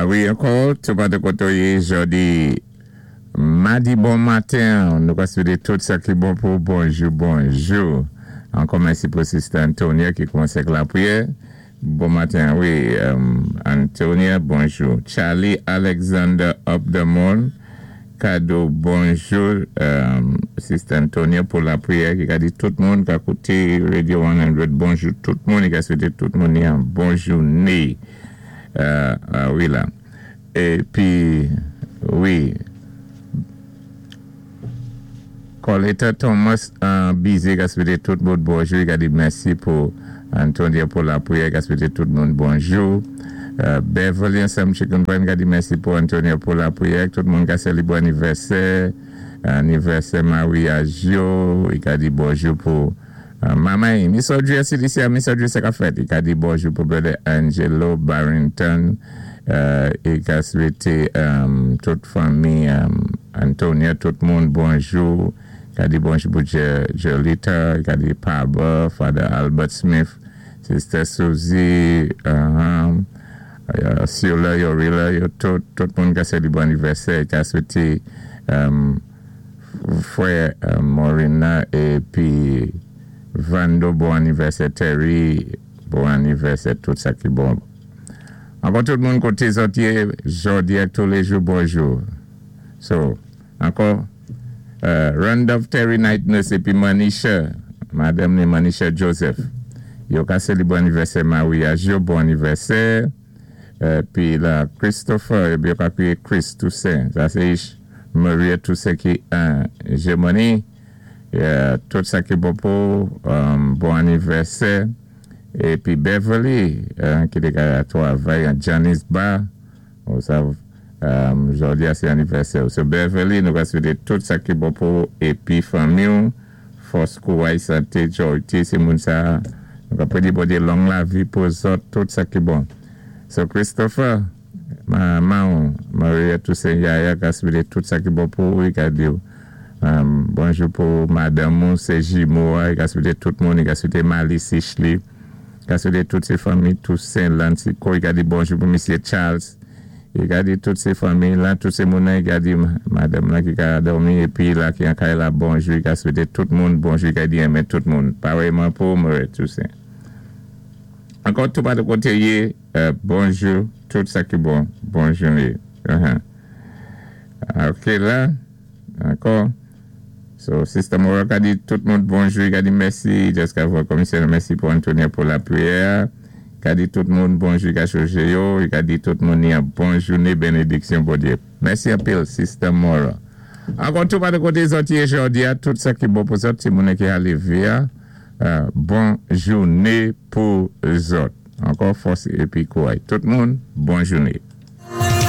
Wi, ankò, tou patou koté ou yé jòdi madi bon maten, nou ka swété tout sa ki bon pou bonjou bonjou. Ankò mèsi pou Sister Antonia ki koumansé ak lapriyè. Bon maten, wi, Antonia, bonjou. Charlie Alexander up the moon, kado bonjou, Sister Antonia pou lapriyè ki ka di tout moun ka kouté Radio 100 bonjou tout moun, i ka swété tout moun yon bon jouné. Wi la. Épi, wi. Coletta Thomas bize ka swete tout moun bonjou, li ka di mèsi pou Antonia pou lapriyè, li ka swete tout moun bonjou. Beverly ansanm Chicken Vine ka di mèsi pou Antonia pou lapriyè, tout moun ka selebre anivèsè, anivèsè maryaj yo, li ka di bonjou pou Mamay, Miss Audrey Asilicia, Miss Audrey sa ka fèt, li ka di bonjou pou Brother Angelo Barrington, li ka swete tout fanmi Antonia, tout moun bonjou, li ka di bonjou pou Jolita, li ka di Paba, Father Albert Smith, Sister Suzy, Sula, Yorila, yo tout, tout moun ka selebre anivèsè, li ka swete Frè Morina epi Vando bon anivèsè Terry bon anivèsè tout sa ki bon ankò tout moun kote zòt ye jòdi ak toulejou bonjou so ankò Randolph Terry Night Nurse epi Manisha madanm ni Manisha Joseph yo ka selebre anivèsè maryaj yo bon anivèsè epi la Christopher epi yo ka kriye Chris Toussaint sa se Maria Toussaint ki an Jèmani tout sa ki bon pou bon anivèsè epi Beverly ki te ka travay an Johnny's Bar ou sav jodi a se anivèsè ou so Beverly nou ka swete tout sa ki bon pou epi fanmi ou fòs kouray sante jòyte se moun sa nou ka predi Bondye long lavi pou zòt tout sa ki bon so Christopher. Manman w Maria Toussaint Yaya ka swete tout sa ki bon pou ou, li ka di w bonjou pou madanm ou se jimo a, li ka swete tout moun, li ka swete Malice Ishly, li ka swete tout se fanmi Toussaint Lantico, li ka di bonjou pou misye Charles, li ka di tout se fanmi lan, tout se moun nan, li ka di madanm lan ki ka dòmi epi la ki an kay la bonjou, li ka swete tout moun bonjou, li ka di renmen tout moun. Parèyman pou Maria Toussaint. Ankò tou patou kote w ye. Bonjou tout sa ki bon bon joune ok la ankò so sister Mora ka di tout moun bonjou li ka di mèsi just ka voye komisè mèsi pou Antonia pou la priyè a ka di tout moun bonjou li ka choje yo li ka di tout moun yon bon joune benediksyon Bondye mèsi anpil sister Mora ankò tou pa de kote zòt ye jodi a tout sa ki bon pou zòt se moun ki aleve a bon joune pou zòt. Ankò fòs epi kouray tout moun, bon joune.